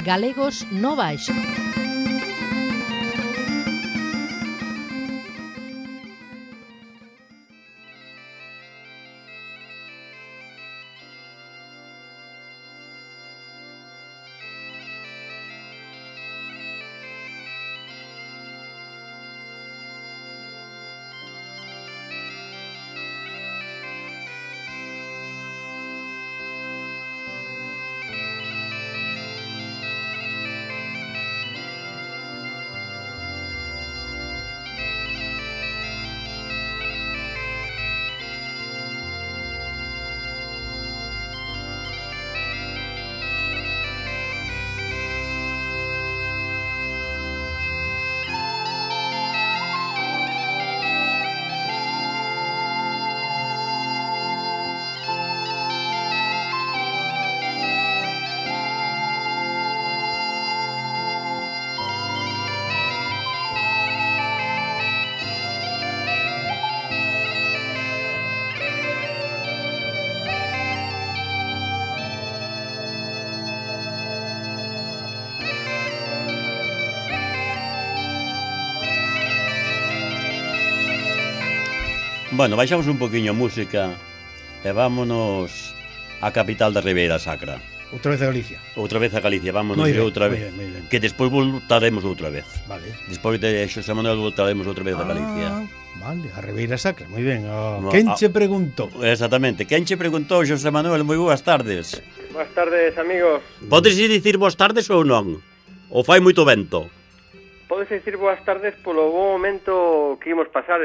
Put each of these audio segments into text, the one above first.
Galegos no Baixo. Bueno, baixamos un poquinho a música e vámonos á capital da Ribeira Sacra. Outra vez a Galicia. Outra vez a Galicia, vámonos Moi ben, outra vez. moi ben. Que despois voltaremos outra vez. Vale. Despois de Xosé Manuel voltaremos outra vez a Galicia. Vale, a Ribeira Sacra, moi ben. No, Quen che preguntou? Exactamente. Quen che preguntou, Xosé Manuel? Moi boas tardes. Boas tardes, amigos. Podes dicir boas tardes ou non? Ou fai moito vento? Podes dicir boas tardes polo bo momento que imos pasar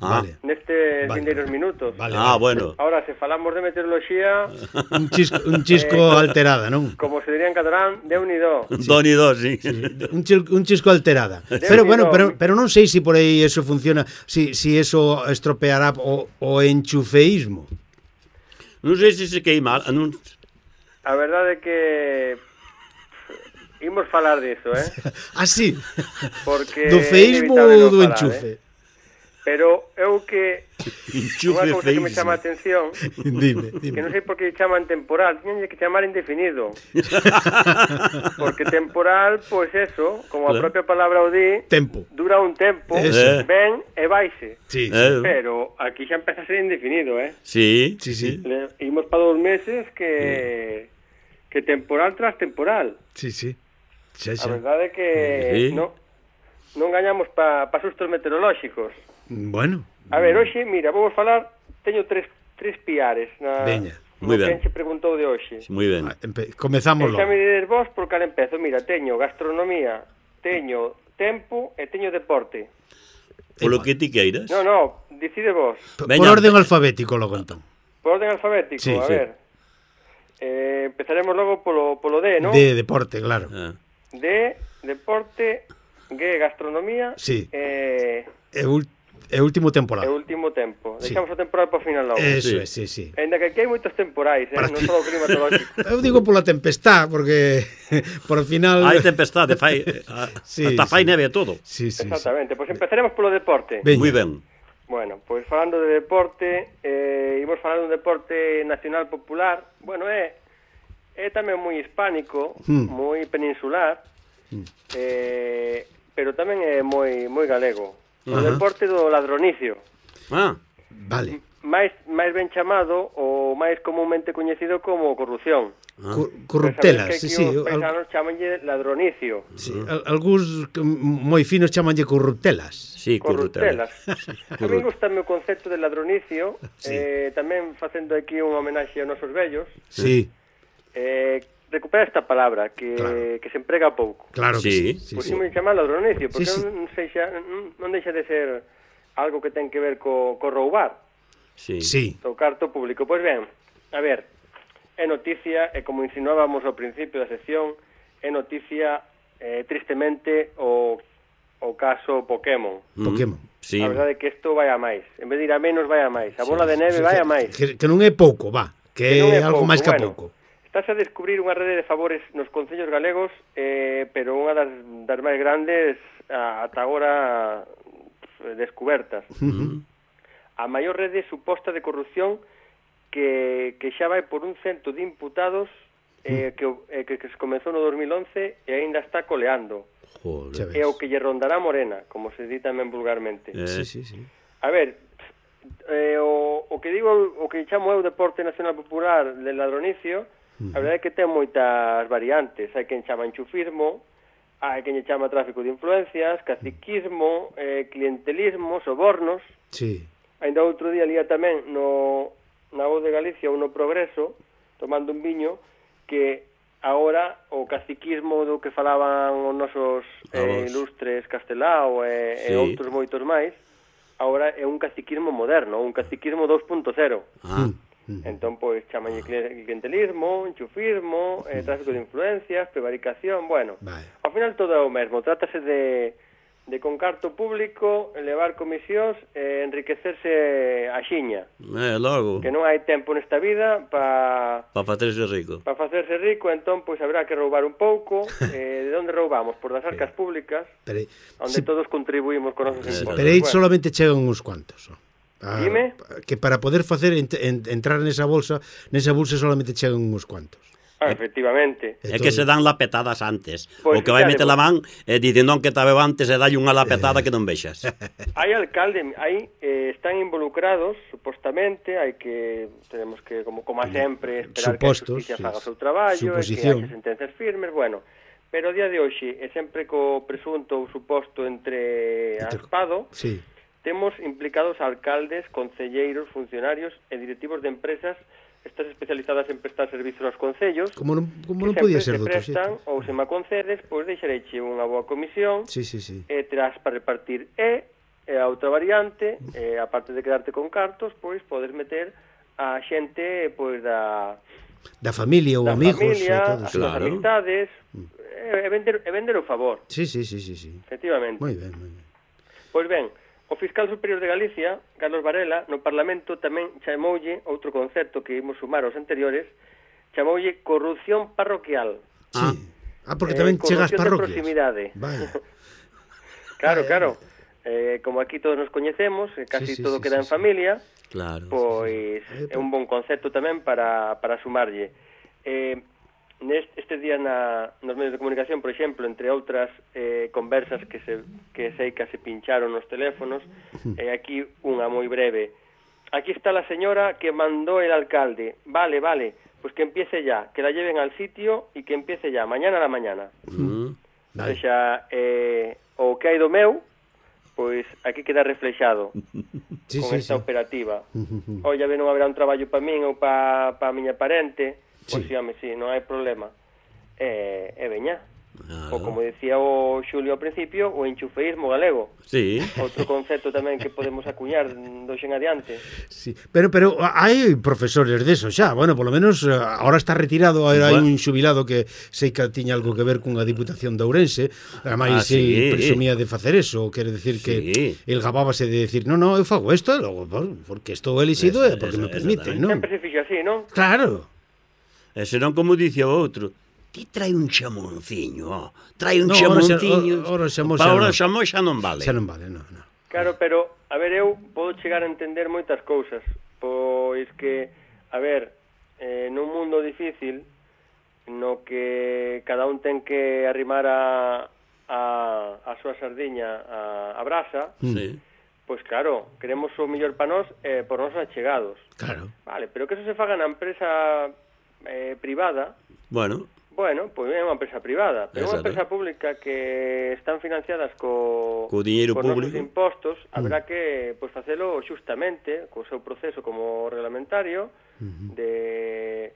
Vale. nestes vindeiros minutos. Vale, bueno. Ahora, se falamos de meteoroloxía, Un chisco alterada, non? como se diría en catalán, Déu-n'hi-do. Doni dos, sí. Un chisco alterada. Pero bueno, pero non sei se por aí eso funciona, si eso estropeará o enchufeísmo. Non sei se queima. Non... A verdade é que imos falar diso, Así. Porque Do feísmo ou do enchufe? Pero eu que Enchufe unha cousa que me feísmo. chama a atención, Dime. que non sei por que chaman temporal, tiñenlle que chamar indefinido. Porque temporal, pois eso, como a Claro. propia palabra o di, Tempo. dura un tempo, Eso. ven e vaixe. Sí. Pero aquí xa empeza a ser indefinido, Sí. Sí. Imos para 2 meses que temporal tras temporal. Sí. A verdade é que Sí. non gañamos pa sustos meteorolóxicos. Bueno. A ver, hoxe, mira, vamos falar, teño tres piares na Veña. Moi ben. quen se preguntou de hoxe. Moi ben. Comezamos Xa logo. me dides vos por cal empezo. Mira, teño gastronomía, teño tempo e teño deporte. Polo que ti queiras. No, decide vos. Por Veña. orden alfabético logo entón. Por orden alfabético, Sí, a sí. ver. Empezaremos logo polo D, ¿no? De deporte, claro. D, deporte, G, gastronomía, Sí. e Último temporada. último tempo. Sí. Deixamos o temporal para o final logo. Eso Sí. é, sí. Ainda que aquí hai moitos temporais, non só o climatológico. Eu digo pola tempestad, porque por final... Hai tempestade, fai Sí, hasta fai sí. neve e todo. Sí. Exactamente. Pois empezaremos polo deporte. Veña. Moi ben. Bueno, pois falando de deporte, imos falar dun deporte nacional popular. Bueno, é tamén moi hispánico, moi peninsular, pero tamén é moi galego. O deporte do ladronicio. Vale. máis ben chamado ou máis comúnmente coñecido como corrupción. Corruptelas, Que sí. os paisanos chamanlle ladronicio. Sí, algúns moi finos chamanlle corruptelas. Sí, Corruptelas. A mí gustame o concepto de ladronicio, tamén facendo aquí unha homenaxe aos nosos vellos. Sí. Recupera esta palabra que se emprega pouco. Claro que Sí. sí. Pois me chama ladronicio, porque Sí. non deixa de ser algo que ten que ver co roubar. Sí. Sí. O carto público. Pois ben, a ver, é noticia, e como insinuábamos ao principio da sección, é noticia tristemente o caso Pokémon. Pokémon. Sí. A verdade é que isto vai a máis. En vez de ir a menos, vai a máis. A bola de neve vai a máis. Que non é pouco, va. Que non é algo pouco, máis que bueno. pouco. Estás a descubrir unha rede de favores nos concellos galegos, pero unha das máis grandes ata agora descubertas. A maior rede suposta de corrupción que xa vai por un cento de imputados que se comezou no 2011 e aínda está coleando. Joder. É o que lle rondará Morena, como se di tamén vulgarmente. Sí. A ver, o que digo, o que chamo eu Deporte Nacional Popular de Ladronicio, a verdade é que ten moitas variantes. Hai quen chama enchufismo, hai quen lle chama tráfico de influencias, caciquismo, clientelismo, sobornos. Sí. Ainda outro día lía tamén na Voz de Galicia ou no Progreso, tomando un viño, que agora o caciquismo do que falaban os nosos ilustres Castelao e outros moitos máis, agora é un caciquismo moderno, un caciquismo 2.0. Entón, pois, chamanlle clientelismo, enchufismo, tráfico de influencias, prevaricación, bueno. Ao final todo é o mesmo, trátase de con carto público elevar comisións e enriquecerse a xiña. Logo. Que non hai tempo nesta vida para facerse rico. Para facerse rico, entón, pois habrá que roubar un pouco. De onde roubamos? Por das arcas públicas, onde todos contribuímos con nosos impostos. Pero aí solamente chegan uns cuantos. Dime? Que para poder facer entrar nesa bolsa solamente chegan uns cuantos. Efectivamente. É que se dan lapetadas antes. O que vai meter la man dicen non que tabeu antes e dalle unha lapetada que non vexas. Hai alcalde, están involucrados, supostamente, tenemos que, como a sempre, esperar que a justicia faga o seu traballo, e que haxe sentencias firmes, bueno. Pero o día de hoxe, e sempre co presunto ou suposto entre aspado, temos implicados alcaldes, concelleiros, funcionarios e directivos de empresas estas especializadas en prestar servizos aos concellos, como non podía ser doutro xeito. Ou se me concedes, pois deixareiche unha boa comisión, e terás para repartir a outra variante, aparte de quedarte con cartos, pois podes meter a xente pois da familia ou amigos, as amistades, e vender o favor. Sí. Efectivamente. Moi ben. Pois ben, o fiscal superior de Galicia, Carlos Varela, no Parlamento tamén chamoulle outro concepto que imos sumar aos anteriores, chamoulle corrupción parroquial. Porque tamén chega ás parroquias. Corrupción de proximidade. Claro. Como aquí todos nos coñecemos, casi todo queda en familia, pois é un bon concepto tamén para sumarlle. Estes días nos medios de comunicación, por exemplo, entre outras conversas que sei que se pincharon nos teléfonos, aquí unha moi breve. Aquí está la señora que mandó el alcalde. Vale, pues que empiece ya, que la lleven al sitio y que empiece ya, mañana a la mañana. O sea, o que hai do meu, pois aquí queda reflexado con esta operativa. Olla, non haberá un traballo para min ou para a miña parente. Pois sí, non hai problema. E veña. Ou como decía o Xulio ao principio, o enchufeísmo galego. Outro concepto tamén que podemos acuñar do xen adiante. Pero hai profesores deso xa. Bueno, polo menos agora está retirado. Hai un xubilado que sei que tiña algo que ver cunha diputación de Ourense. Ademais, ele presumía de facer eso. Quere decir que el gabábase de decir non, eu fago isto, porque estou elixido e porque me permiten, non? Sempre se fixo así, non? Claro. E senón, como dice o outro, ti trae un chamonciño, chamonciño. Ora xamón xa non vale. Xa non vale, non. Claro, pero, a ver, eu podo chegar a entender moitas cousas, pois que, a ver, nun mundo difícil, no que cada un ten que arrimar a súa sardiña a brasa, pois claro, queremos o mellor para nós por nosos achegados. Claro. Vale, pero que eso se faga na empresa privada. Bueno, pois é unha empresa privada, pero unha empresa pública que están financiadas co diñeiro público, nosos impostos, haberá que pois facelo xustamente, co seu proceso como reglamentario de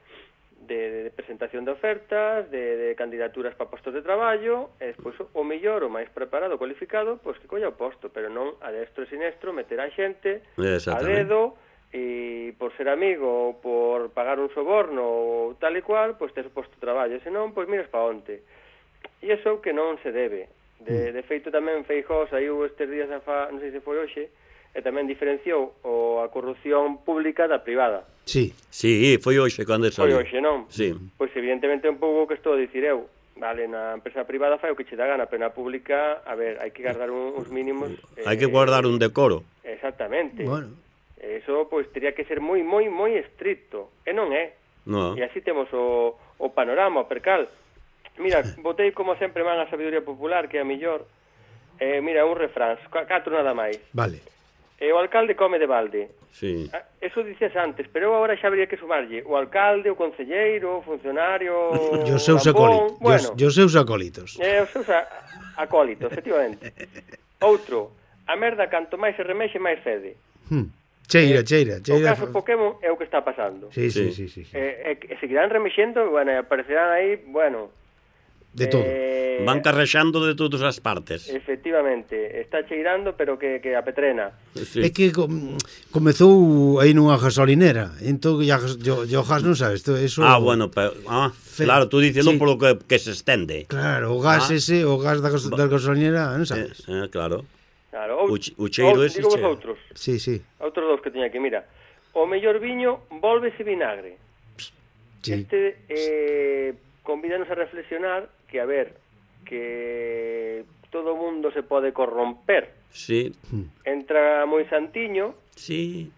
presentación de ofertas, de candidaturas para postos de traballo, e despois o mellor, o máis preparado, cualificado, pois que colla o posto, pero non a destro e sinestro meter a xente a dedo, e por ser amigo ou por pagar un soborno ou tal e cual, pois tes o posto de traballo, senón, pois miras pa onte. E iso que non se debe. De feito tamén Feijóo saiu estes días non sei se foi hoxe, e tamén diferenciou a corrupción pública da privada. Sí, foi hoxe cando saiu. Foi hoxe, non? Pois evidentemente un pouco que estou a dicir eu. Vale, na empresa privada fai o que che dá gana, pero na pública, a ver, hai que guardar uns mínimos. Hai que guardar un decoro. Exactamente. Bueno. Eso, pois, teria que ser moi estricto. E non é. No. E así temos o panorama, o percal. Mira, botei como sempre man a sabiduría popular, que é a millor. Mira, un refrán, 4 nada máis. Vale. O alcalde come de balde. Sí. Eso dices antes, pero eu agora xa habría que sumarlle o alcalde, o concelleiro, o funcionario, E os seus acólitos. bueno, E os seus acólitos. os seus acólitos, efectivamente. Outro, a merda canto máis se remexe, máis fede. Cheira. O caso Pokémon é o que está pasando. Sí. Seguirán remexendo, bueno, e aparecerán aí, bueno... De todo. Van carrexando de todas as partes. Efectivamente, está cheirando, pero que a petrena. Sí. É que comezou aí nunha gasolinera. Entón, o gas non sabes. Eso, Bueno, pero, claro, tú dicelo sí. polo que se estende. Claro, o gas ese, o gas da gasolinera, non sabes. Claro. Claro, O cheiro ese digo vos cheiro. outros. Sí. Outros dous que teña aquí, mira. O mellor viño volvese vinagre. Sí. Convídanos a reflexionar que, a ver, que todo o mundo se pode corromper. Sí. Entra moi santiño, Sí.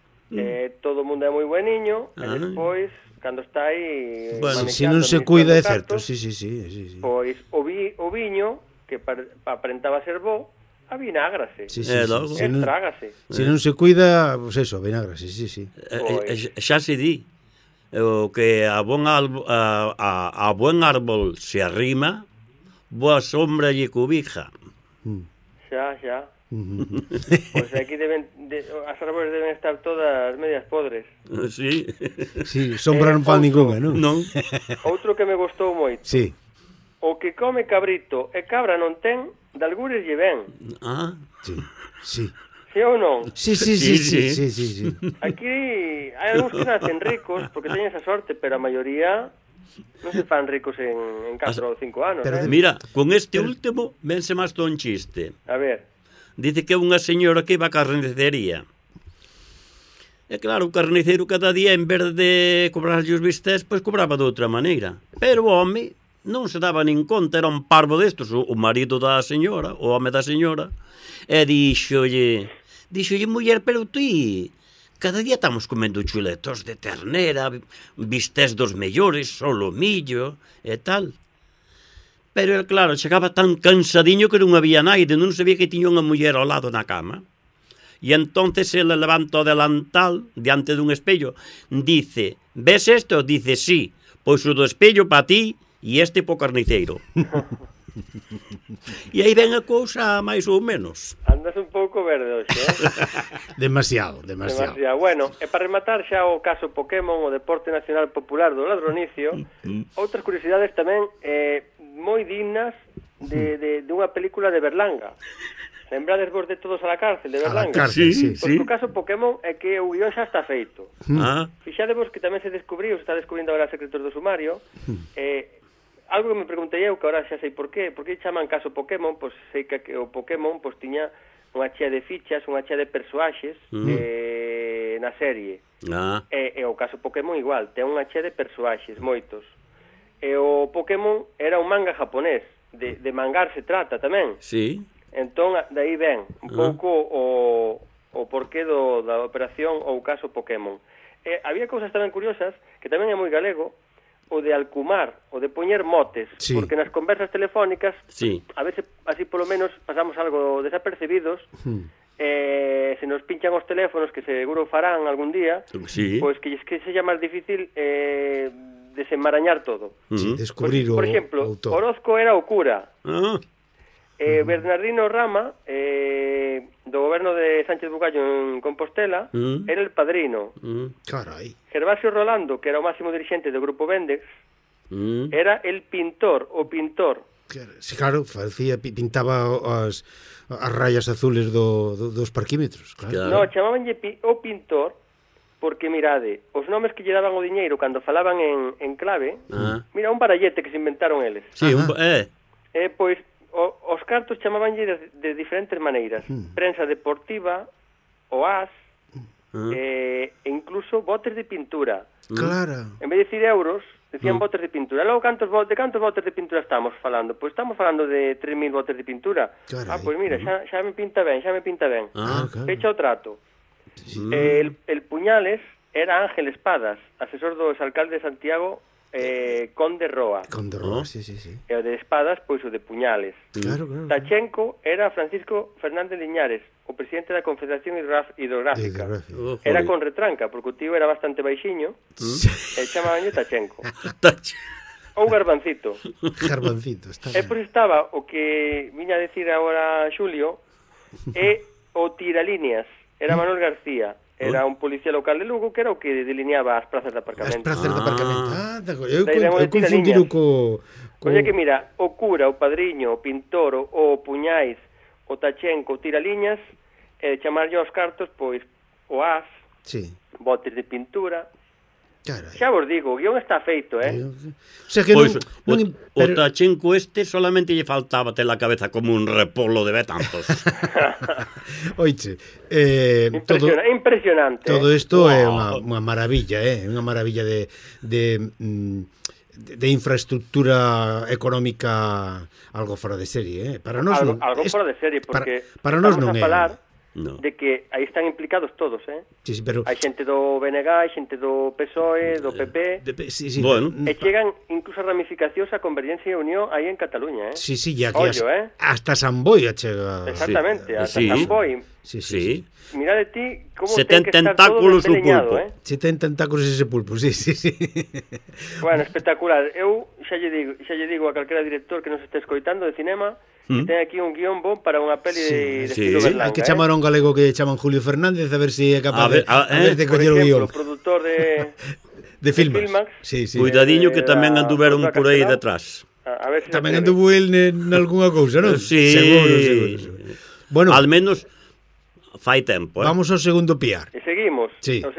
todo o mundo é moi bueniño, e despois, cando está aí... Bueno, Se non se cuida é certo. Sí. Pois o viño, que aparentaba ser bo, avinágrase. Sí. Estrágase. Se non se cuida, pues eso, vinagre, sí. Xa se di. O que a buen árbol se arrima, boa sombra lle cubija. Xa. Pois aquí as árbores deben estar todas medias podres. Sí. Sí, sombra non fan ningunha, non? Non. Outro que me gostou moito. Sí. O que come cabrito e cabra non ten, de algures lle ven. Sí. Sí ou non? Sí. Aquí hai algúns que nacen ricos porque teñen esa sorte, pero a maioría non se fan ricos en 4 ou 5 anos. Mira, con este último vense máis un chiste. A ver. Dice que unha señora que iba á carnicería. E claro, o carniceiro cada día, en vez de cobrarlle os bistés, pois cobraba de outra maneira. Pero o home non se daba nin conta, era un parvo destos, o marido da señora, o home da señora, e díxolle, muller, pero ti, cada día estamos comendo chuletos de ternera, bistés dos mellores, solomillo e tal. Pero, claro, chegaba tan cansadiño que non había naide, non sabía que tiña unha muller ao lado na cama. E entonces ele levanta o delantal diante dun espello, dice, ves esto? Dice, sí, pois o do espello pa ti e este po carniceiro. E aí ven a cousa máis ou menos. Andas un pouco verde hoxe, Demasiado. Bueno, e para rematar xa o caso Pokémon, o deporte nacional popular do ladronicio, outras curiosidades tamén moi dignas de unha película de Berlanga. Lembrades vos de Todos a la cárcel, de Berlanga? Sí. Pois o caso Pokémon é que o guión xa está feito. Fixadevos que tamén se descubriu, se está descubrindo agora o secretor do sumario, algo que me preguntei eu, que agora xa sei por qué chaman caso Pokémon, pois sei que o Pokémon pois tiña unha chea de fichas, unha chea de persoaxes na serie. E o caso Pokémon igual, ten unha chea de persoaxes, moitos. E o Pokémon era un manga japonés, de mangar se trata tamén. Sí. Entón, daí ven un pouco o porqué da operación ou caso Pokémon. Había cousas tamén curiosas, que tamén é moi galego, o de alcumar, o de poñer motes, porque nas conversas telefónicas, a veces así polo menos pasamos algo desapercibidos, se nos pinchan os teléfonos, que seguro farán algún día, pois que sexa máis difícil desenmarañar todo. Descubrir por exemplo, Orozco era o cura. Bernardino Rama, do goberno de Sánchez Bugallo en Compostela, era el padrino. Carai. Gervasio Rolando, que era o máximo dirixente do Grupo Vendex, era el pintor, o pintor. Claro, pintaba as rayas azules dos parquímetros. Claro. No, chamabanlle o pintor, porque, mirade, os nomes que lle daban o diñeiro cando falaban en clave, mira, un barallete que se inventaron eles. Sí, pois, os cartos chamabanlle de diferentes maneiras. Prensa deportiva, o as, e incluso botes de pintura. Claro. En vez de decir euros, decían botes de pintura. Logo, de cantos botes de pintura estamos falando? Pois estamos falando de 3.000 botes de pintura. Carai. Pois mira, xa me pinta ben. Fecha o trato. El Puñales era Ángel Espadas, asesor do exalcalde de Santiago, Conde Roa. Conde Roa, sí. E o de espadas, pois o de puñales. Claro. Tachenko era Francisco Fernández Liñares, o presidente da Confederación Hidrográfica. Era con retranca, porque o tío era bastante baixiño, e chamabanlle Tachenko. Ou Garbancito. Garbancito, está ben. E pois estaba o que viña a decir agora Xulio, e o tiralíneas, era Manuel García. Era un policía local de Lugo que era o que delineaba as prazas de aparcamento. As prazas de aparcamento. Eu confundido co... Oye que mira, o cura, o padriño, o pintor, o puñais, o Tachenko, o tiraliñas, chamarlle aos cartos, pois, o as, botes de pintura... Caray. Xa vos digo, o guión está feito, O sea que pois, o Tachenko solamente lle faltaba ter a cabeza como un repolo de betantos. Oiche, impresionante. Todo isto é unha maravilla, unha maravilla de infraestructura económica algo fora de serie, para nós algo fora de serie, porque para nós non é de que aí están implicados todos, Sí, pero... Hai xente do BNG, hai xente do PSOE, do PP, bueno. E chegan incluso a ramificacións a Convergencia e Unión aí en Cataluña, Sí, ya que hasta San Boi chega. Exactamente, hasta San Boi. Sí. Mira de ti como ten que estar todo despeñado, Se ten tentáculos ese pulpo, sí. Bueno, espectacular. Eu xa lle digo a calquera director que nos este escoitando de cinema que ten aquí un guión bon para unha peli de estilo Berlanga. Hai que chamar a un galego que chaman Julio Fernández a ver se é capaz de coller o guión. Por exemplo, produtor de Filmax. Sí. Cuidadiño que tamén anduveron por aí detrás. A ver se tamén anduvo el nalgúnha cousa, non? Sí. Seguro. Bueno, al menos fai tempo, Vamos ao segundo piar. E seguimos. Sí. O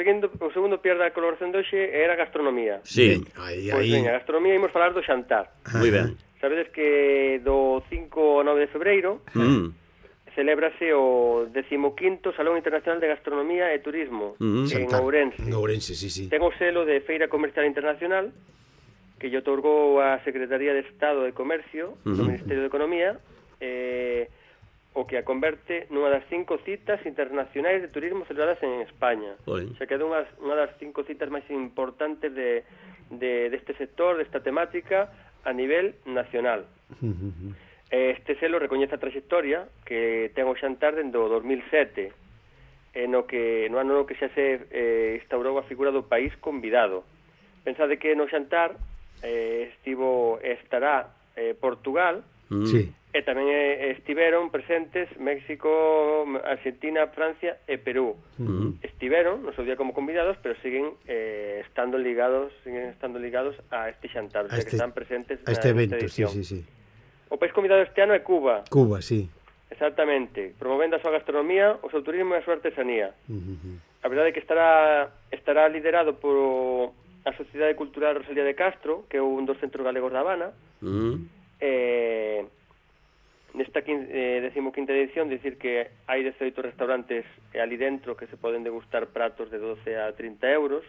segundo piar da colaboración de hoxe era gastronomía. Sí. Pois veña, gastronomía, imos falar do xantar. Moi ben. Sabedes que do 5 ao 9 de febreiro celébrase o 15º Salón Internacional de Gastronomía e Turismo en Ourense. En Ourense, sí. Ten o selo de Feira Comercial Internacional que lle otorgou a Secretaría de Estado de Comercio do Ministerio de Economía, o que a converte nunha das 5 citas internacionais de turismo celebradas en España. Xa quedou unha das 5 citas máis importantes deste sector, desta temática, a nivel nacional. Este selo recoñece a trayectoria que ten o xantar dende o 2007, no ano no que xa se instaurou a figura do país convidado. Pensade que no xantar estará Portugal, e tamén estiveron presentes México, Argentina, Francia e Perú. Estiveron no seu día como convidados, pero siguen estando ligados a este xantar, que están presentes a este evento, edición. Sí. O país convidado este ano é Cuba. Cuba, sí. Exactamente, promovendo a súa gastronomía, o seu turismo e a súa artesanía. A verdade é que estará liderado por a Sociedade Cultural Rosalía de Castro, que é un dos centros galegos da Habana. Nesta 15ª edición, dicir que hai 18 restaurantes ali dentro que se poden degustar pratos de 12 a 30 euros,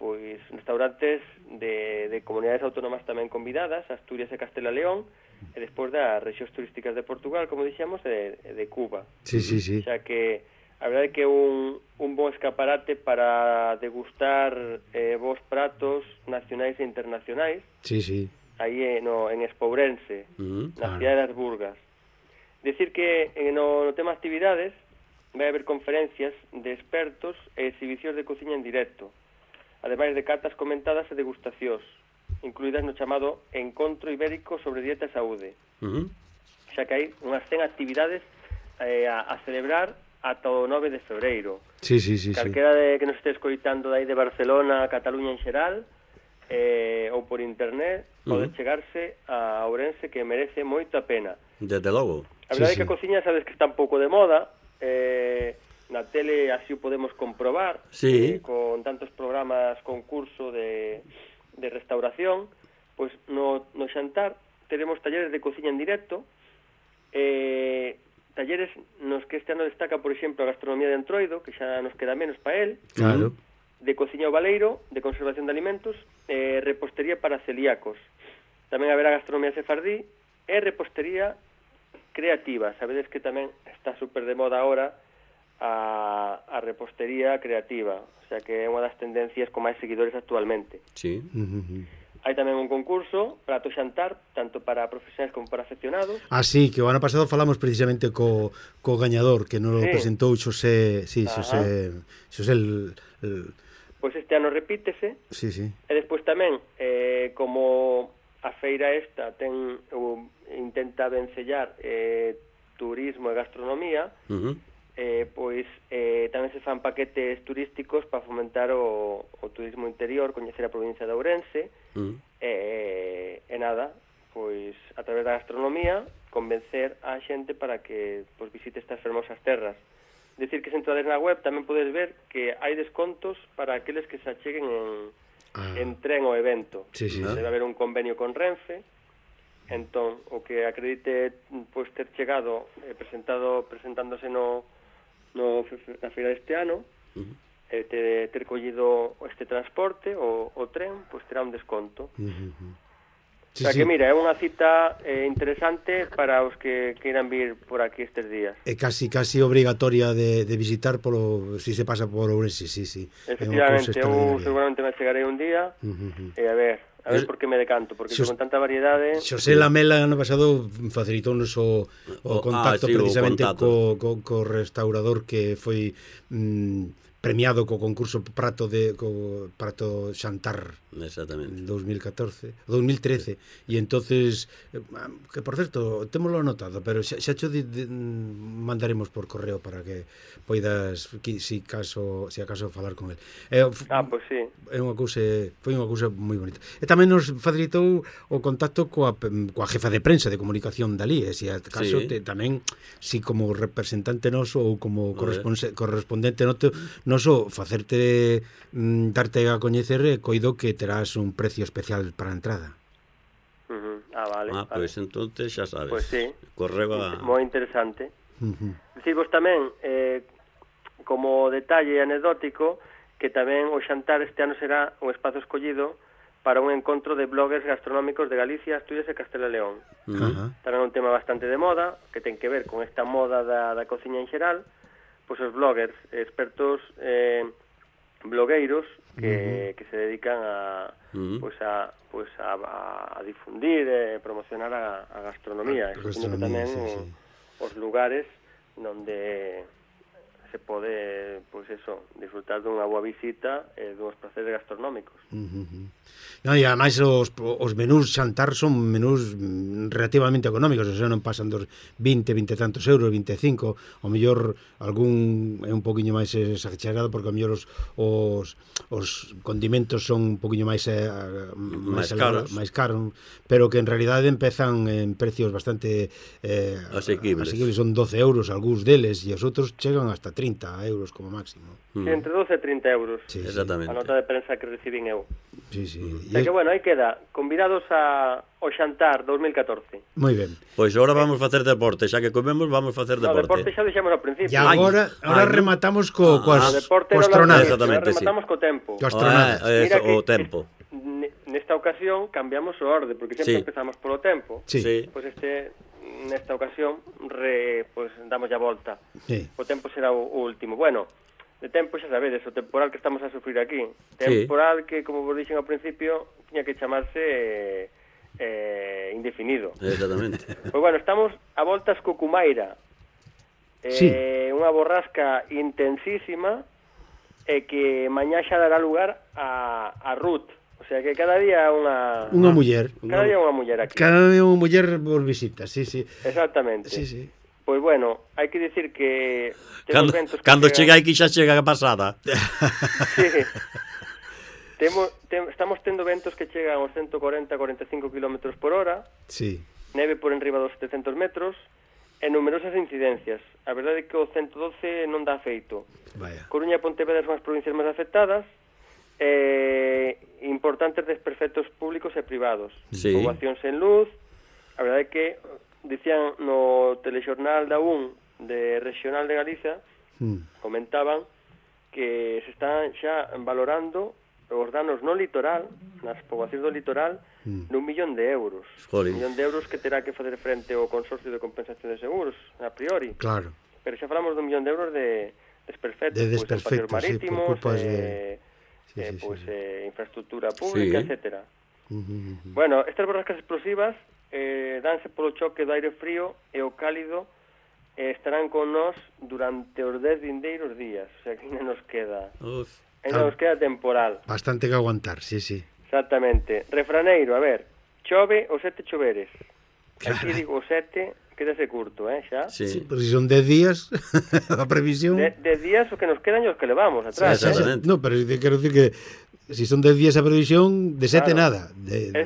pois restaurantes de comunidades autónomas tamén convidadas, Asturias e Castela León, e despois das rexións turísticas de Portugal, como dixemos, e de Cuba. Sí. Xa que a verdade é que é un bon escaparate para degustar bons pratos nacionais e internacionais. Sí. Aí en Espourense, na cidade das Burgas. Decir que no tema actividades vai haber conferencias de expertos e exhibicións de cociña en directo, ademais de cartas comentadas e degustacións, incluídas no chamado Encontro Ibérico sobre Dieta e Saúde. Xa que hai unhas 100 actividades a celebrar ata o 9 de febreiro. Sí. Calquera que nos este escoitando dai de Barcelona, Cataluña en xeral, ou por internet, pode chegarse a Ourense, que merece moito a pena. Desde logo. A verdade é que a cociña sabes que está un pouco de moda, na tele así o podemos comprobar, con tantos programas concurso de restauración, pois no xantar teremos talleres de cociña en directo, talleres nos que este ano destaca, por exemplo, a gastronomía de Entroido, que xa nos queda menos para él, claro, de cociña ao baleiro, de conservación de alimentos, repostería para celíacos. Tamén haberá gastronomía sefardí e repostería creativa. Sabedes que tamén está super de moda ahora a repostería creativa, o sea que é unha das tendencias con máis seguidores actualmente. Sí. Hai tamén un concurso para o xantar, tanto para profesionais como para aficionados. Sí, que o ano pasado falamos precisamente co gañador, que nos presentou Xosé, Xosé Pois este ano repítese. Sí. E despois tamén, como a feira esta intenta vencellar turismo e gastronomía, pois tamén se fan paquetes turísticos para fomentar o turismo interior, coñecer a provincia de Ourense, e nada, pois a través da gastronomía convencer a xente para que pois visite estas fermosas terras. Decir que se entrades na web tamén podes ver que hai descontos para aqueles que se acheguen en tren ao evento. Debe haber un convenio con Renfe. Entón, o que acredite pois ter chegado presentándose na feira deste ano, ter collido este transporte, o tren, pois terá un desconto. O sea que, mira, é unha cita interesante para os que queiran vir por aquí estes días. É casi obrigatoria de visitar si se pasa por Ourense, sí. Efectivamente, eu seguramente me chegarei un día e a ver por que me decanto, porque con tanta variedade... Xosé Lamela ano pasado facilitounos o contacto precisamente co restaurador que foi premiado co concurso prato xantar en 2013 e entonces que por certo témolo anotado, pero xa cho mandaremos por correo para que poidas si acaso falar con el. Pois sí. Foi unha cousa moi bonita. E tamén nos facilitou o contacto coa jefa de prensa de comunicación dali, e se acaso tamén si como representante noso ou como correspondente noso facerte darte a coñecer, coido que terás un precio especial para a entrada. Vale. Pois entonces xa sabes. Pois sí. Correo moi interesante. Dicirvos tamén, como detalle anecdótico, que tamén o xantar este ano será un espazo escollido para un encontro de bloggers gastronómicos de Galicia, Asturias e Castela e León. Tamén un tema bastante de moda, que ten que ver con esta moda da cociña en xeral. Pois os bloggers, expertos blogueiros que se dedican a difundir e promocionar a gastronomía, e tamén os lugares onde se pode, disfrutar dunha boa visita e duns placeres gastronómicos. E ademais os menús xantar son menús relativamente económicos, o sea, non pasan dos 20 tantos euros, 25, o mellor algún é un poquinho máis exagerado, porque o mellor os condimentos son un poquinho máis caros, pero que en realidade empezan en precios bastante asequibles, son 12 euros algúns deles, e os outros chegan hasta 30 euros como máximo. Entre 12 e 30 euros. Exactamente. A nota de prensa que recibín eu. Sí. Que bueno, aí queda, convidados ao xantar 2014. Moi ben. Pois agora vamos facer deporte, xa que comemos vamos facer deporte. Deporte xa deixamos ao principio. E agora rematamos coas astronadas. Rematamos co tempo. O tempo. Nesta ocasión cambiamos o orde, porque sempre empezamos polo tempo. Pois nesta ocasión damos a volta. O tempo será o último. Bueno, de tempo xa sabedes, o temporal que estamos a sufrir aquí. Temporal que, como vos dixen ao principio, tiña que chamarse indefinido. Exactamente. Pois bueno, estamos a voltas co Cumaira. Unha borrasca intensísima e que mañá xa dará lugar a Ruth. O sea que cada día unha muller. Cada día unha muller aquí. Cada día unha muller por visita, sí. Exactamente. Sí. Pois bueno, hai que dicir que cando chega aquí xa chega pasada. Sí. Estamos tendo ventos que chegan aos 140-45 km por hora. Sí. Neve por enriba dos 700 metros e numerosas incidencias. A verdade é que o 112 non dá feito. Coruña e Pontevedra son as provincias máis afectadas. Importantes desperfectos públicos e privados. Poboacións sen luz. A verdade é que dicían no telexornal da UN de Regional de Galicia, comentaban que se están xa valorando os danos no litoral, nas poboacións do litoral, nun 1.000.000 de euros. Un 1.000.000 de euros que terá que facer frente ao Consorcio de Compensación de Seguros, a priori. Claro. Pero xa falamos dun 1.000.000 de euros de desperfectos, pois, en paseos marítimos, infraestructura pública, etcétera. Bueno, estas borrascas explosivas danse polo choque do aire frío e o cálido estarán con nós durante os 10 vindeiros días, o sea que ainda nos queda temporal. Bastante que aguantar, sí. Exactamente. Refraneiro, a ver, chove os 7 choveres. Aquí digo os 7, quédase curto, xa? Sí, pero si son 10 días, a previsión... 10 días o que nos quedan e os que levamos atrás, No, pero quero dicir que si son 10 días a previsión, de 7 nada.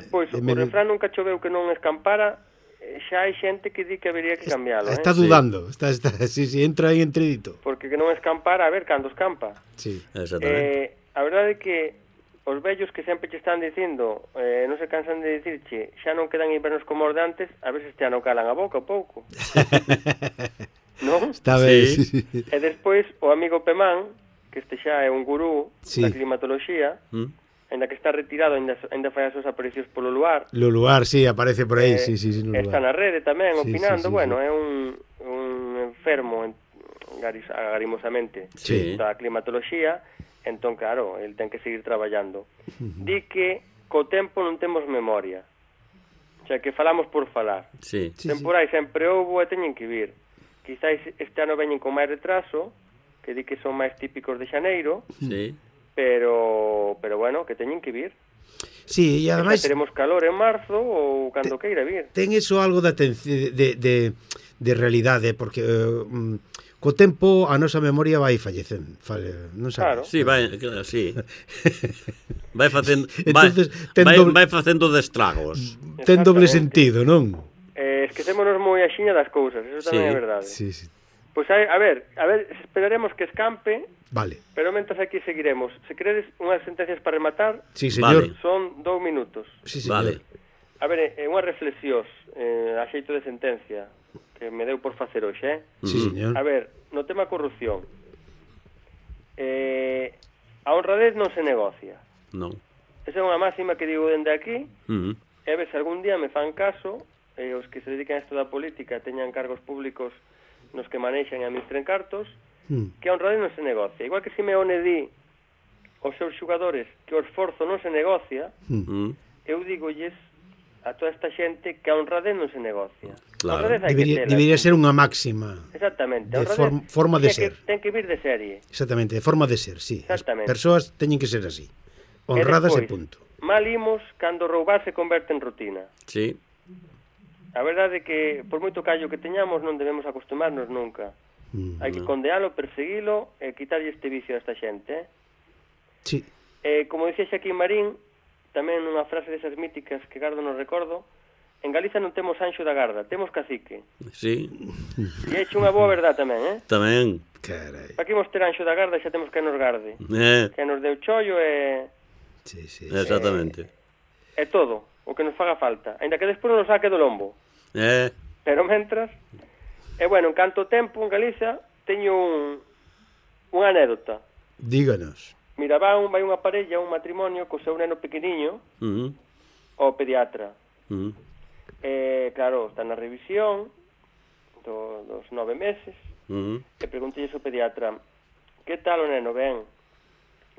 Pois, o refrán nunca choveu que non escampara, xa hai xente que di que habería que cambiálo. Está dudando, sí, entra aí entredito. Porque que non escampara, a ver cando escampa. Sí, exactamente. A verdade é que os vellos que sempre che están dicindo, non se cansan de dicirche, xa non quedan invernos como os de antes, a ver se xa non calan a boca pouco. Non? Está ben. Sí. E despois, o amigo Pemán, que este xa é un gurú da climatoloxía, ainda que está retirado, ainda fai as súas aparicións polo luar. Lo luar, sí, aparece por aí, sí, no luar. Está na rede tamén, opinando, bueno, é un enfermo agarimosamente da climatoloxía, entón, claro, el ten que seguir traballando. Di que co tempo non temos memoria, o sea, que falamos por falar. Temporais sempre houbo e teñen que vir. Quizáis este ano veñen con máis retraso, que di que son máis típicos de xaneiro, pero bueno, que teñen que vir. Sí, e ademais teremos calor en marzo ou cando queira vir. Ten iso algo de realidade, porque co tempo a nosa memoria vai fallecendo, non sabes? Claro. Sí, claro, sí. Vai facendo entonces, vai facendo de estragos. Ten doble sentido, non? Esquecémonos moi axiña das cousas, eso tamén é verdade. Sí. Pois a ver, esperaremos que escampe. Vale. Pero mentres aquí seguiremos. Se queredes unhas sentencias para rematar, sí, señor. Son 2 minutos. Sí, señor. Vale. A ver, unhas reflexións a xeito de sentencia que me deu por facer hoxe, Sí, señor. A ver, no tema corrupción, a honradez non se negocia. Non. Esa é unha máxima que digo dende aquí, e a ver se algún día me fan caso, os que se dedican a isto da política teñan cargos públicos nos que manexan e administren cartos, que a honradez non se negocia. Igual que Simeone di aos seus xogadores que o esforzo non se negocia, eu digolles a toda esta xente que a honradez non se negocia. Claro. Debería ser unha máxima. Exactamente. De forma de ser. Ten que vir de serie. Exactamente, de forma de ser, sí. Exactamente. As persoas teñen que ser así. Honradas e punto. Mal imos cando roubar se converte en rutina. Sí. A verdade é que, por moito callo que teñamos, non debemos acostumarnos nunca. Hai que condealo, perseguilo e quitarlle este vicio a esta xente. Sí. Como dicía Xaquín Marín, tamén nunha frase desas míticas que gardo no recordo, en Galiza non temos Anxo da Garda, temos cacique. Sí. E hai unha boa verdade tamén, Tamén. Carai. Para que imos ter Anxo da Garda xa temos que nos garde. Que nos deu chollo e... Sí. Exactamente. É todo o que nos faga falta, ainda que despois nos saque do lombo. Pero mentras... E bueno, en canto tempo en Galiza teño unha anécdota. Díganos. Mira, vai unha parella, un matrimonio co seu neno pequeniño ao pediatra. Claro, está na revisión dos 9 meses e preguntei ao pediatra: que tal o neno? Ben.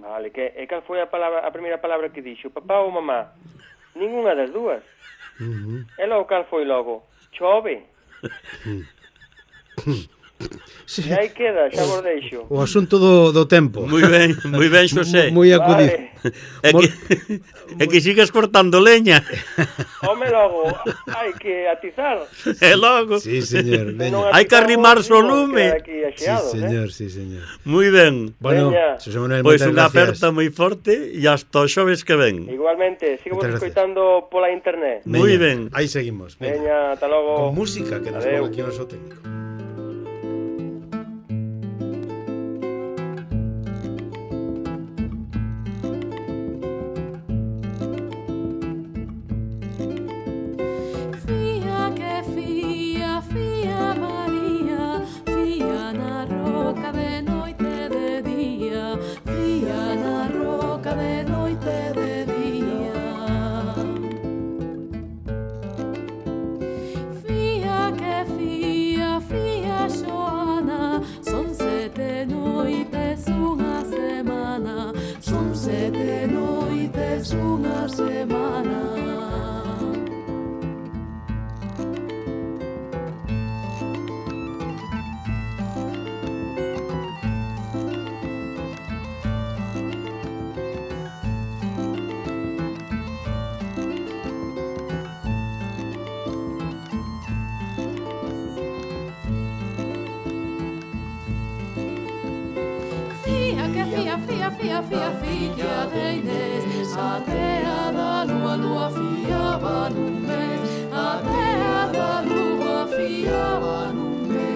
Vale, e cal foi a primeira palabra que dixo? Papá ou mamá? Ninguna das dúas. E logo cal foi logo? Chove. Sí. E aí queda, xa vos deixo. O asunto do tempo. Moi ben, Xosé. Moi acudido. É que sigas cortando leña. Home, logo, hai que atizar. E logo. Sí, señor. Hai que arrimar o lume. Sí, señor. Moi ben. Bueno, Xosé Manuel, pois unha aperta moi forte e hasta o xoves que ven. Igualmente, sigo vos escoitando pola internet. Moi ben. Aí seguimos. Veña, ata logo. Con música que nos pon aquí o noso técnico. Fía, Xoana, son 7 noites. tes unha semana. Filla de Inés, atea da lua fiaba nun mes, atea da lua fiaba nun mes.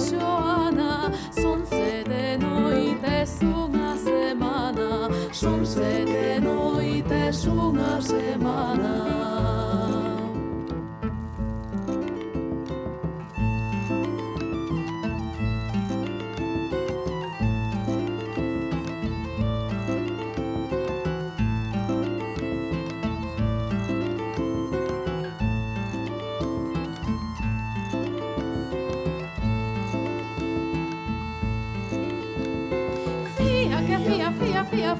Xoana, son 7 noites unha semana, son 7 noites unha semana. Fia,